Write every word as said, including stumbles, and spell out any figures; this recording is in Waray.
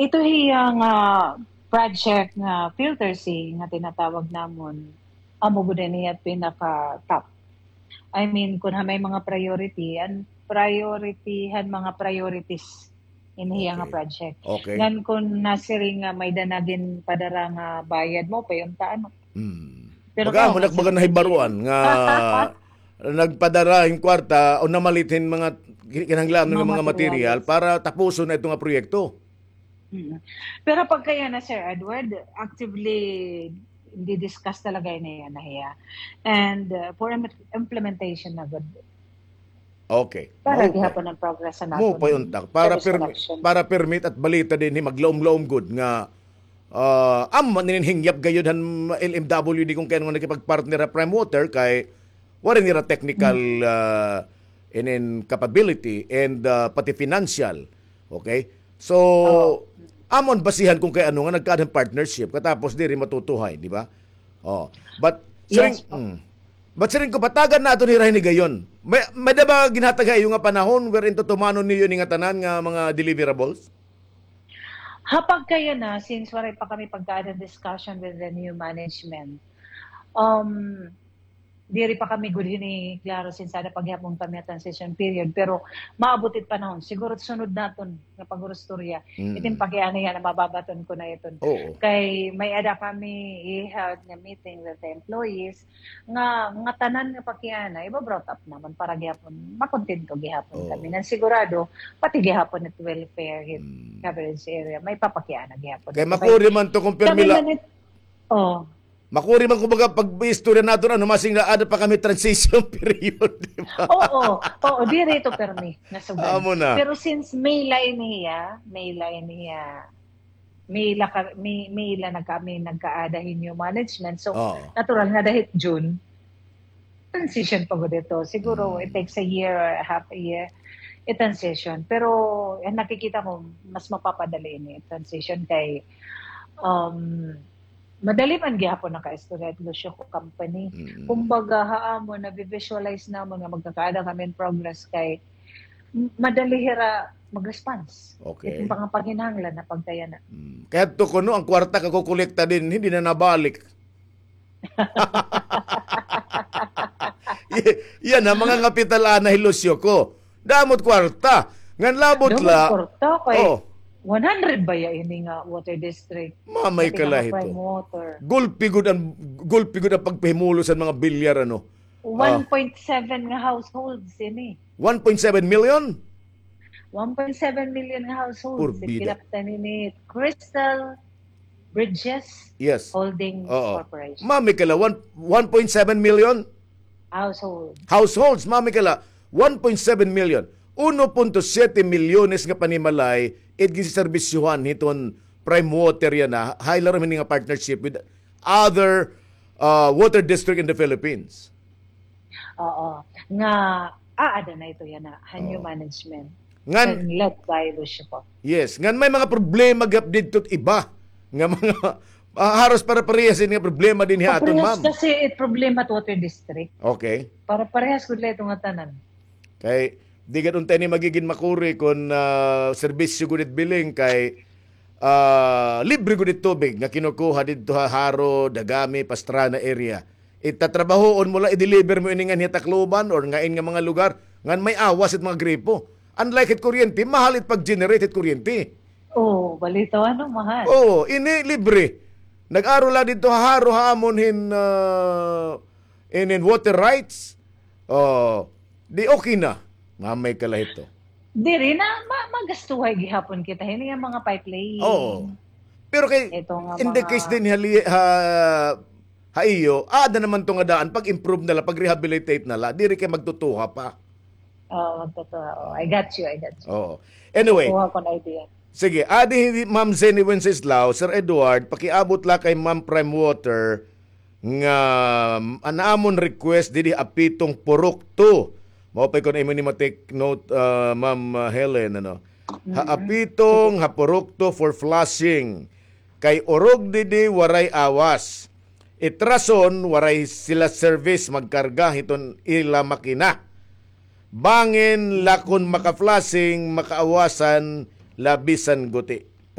Ito hiya nga project nga Filter C nga tinatawag namon, amo gud ini hiya pinaka-top. I mean, kun ha may mga priority, an priority han mga priorities ini hiya nga project. Okay. Ngan kun nasiring nga may-ada na ginpadara nga bayad, maupay unta, ano. Hmm. Pero baga amo na, baga nahibaruan nga nagpadara hin kwarta o namalit hin mga kinahanglan nga mga material para tapuson na ito nga proyekto. Mm. Pero pagka yana, Sir Edward, actively di-discuss talaga ini yana hiya. And, uh, for im-, implementation na gud. Okay. Para gihapon an progress sa naton. Maupay unta. Para permi-, para permit at balita dinhi, maglaom-laom gud nga, ah, amo man ini an hingyap gayod han L M W D kun kay ano nga nakipag-partner ha Prime Water kay waray nira technical, ah, inin capability and, ah, pati financial. Okay? So, amo an basihan kun kay ano nga nagkaada hin partnership katapos diri matutuhay, di ba? Oh. But siring, mm. But siring ko, patagan naton hira hini gayon. May, may-ada ba ginhatag ha iyo nga panahon wherein tutumanon niyo ini nga tanan nga mga deliverables? Ha pagkayana, since waray pa kami pagkaada hin discussion with the new management, um, diri pa kami gud hini klaro since aada pa gihapon kami ha transition period, pero maabot it panahon, siguro sunod naton nga pag-urustorya, iton pakiana yana mababaton ko na iton. Oo. Kay may-ada kami i-held nga meeting with the employees, nga, nga tanan nga pakiana, iba-brought up namon para gihapon, makontento gihapon kami. Ngan sigurado, pati gihapon it welfare hit coverage area, may papakiana gihapon. Kay makuri man to kun pirmi la-, oh. Makuri man, kumbaga, pag-istorya naton, ano, masing na, aada pa kami transition period, di ba? Oo, oo, diri ito pirmi nga sugad. Amo na. Pero since May la ini hiya, May la ini hiya, May la ka-, May, May la na kami nagkaada hin new management. So, natural nga dahil June, transition pa gud ito. Siguro, it takes a year or half a year, i-transition. Pero, eh, nakikita ko, mas mapapadali ini transition kay, um, madali man gihapon naka-istorya it Lucio Co company. Mm. Kumbaga, ha amon, nabi-visualize namon nga magkakaada kami in progress kay m-, madali hira mag-response. Okay. It mga panginahanglan na pagkayana. Mm. Kay adto kuno, an kwarta kakukolekta dinhi, diri na nabalik. Y-, yana, mga ngapital ana hi Lucio Co. Damo it kwarta. Ngan labot la. Damo it kwarta kay one hundred baya ini nga water district. Mamay ka la hito. Prime Water. Gulpi gud an, gulpi gud an pagpahimulos han mga bilyar, ano. Ah. One point seven nga households ini. One point seven million? One point seven million nga households. Porbida. Kinaptan ini Crystal Bridges Holdings Corporation. Mamay ka la, one, one point seven million? Household. Households, mamay ka la, one point seven million. Uno punto siyete milyones nga panimalay it ginseserbisyohan hiton Prime Water yana, ha ilarom hini nga partnership with other, uh, water district in the Philippines. Oo. Nga, aada na ito yana, ha new management. Ngan, and led by Lucio Co. Yes. Ngan may mga problema gihap didto it iba. Nga mga, ah, haros pare-parehas ini nga problema dinhi ha aton, ma'am. Parehas kasi it problema it water district. Okay. Pare-parehas gud la ito nga tanan. Kay, di gad unta ini magigin makuri kon, ah, serbisyo gud it bilin kay, ah, libre gud it tubig nga kinukuha didto ha Jaro, Dagami, Pastrana area. Itatrabahoon mo la, i-deliver mo ini nganhi ha Tacloban or ngain nga mga lugar, ngan may awas it mga gripo. Unlike hit kuryente, mahal it pag-generate hit kuryente. Oo, balitaw, ano, mahal. Oo, ini libre. Nag-aro la didto ha Jaro ha amon hin, ah, inin water rights. Oh, di okay na. Mamay ka la hito. Diri na, ma-, magastuhay gihapon kita hini nga mga pipeline. Oo. Pero kay, in the case dinhi ha, ha iyo, aada naman to nga daan, pag-improve na la, pag-rehabilitate na la, diri kay magtutuha pa. Oo, magtutuha. Oo, I got you, I got you. Oo. Anyway. Kuha ko na idea. Sige, adi hi Ma'am Zenny Wenceslao, Sir Edward, pakiabot la kay Ma'am Prime Water, nga, um, an amon request didi Apitong Purok two. Mao pa kon imo ni ma-take note, uh, Ma'am, uh, Helen, ano. Ha Apitong, ha Purok two for flushing. Kay urog didi waray awas. It rason, waray sila service magkarga hiton ila makina. Bangin la kon maka-flushing, makaawasan la bisan guti.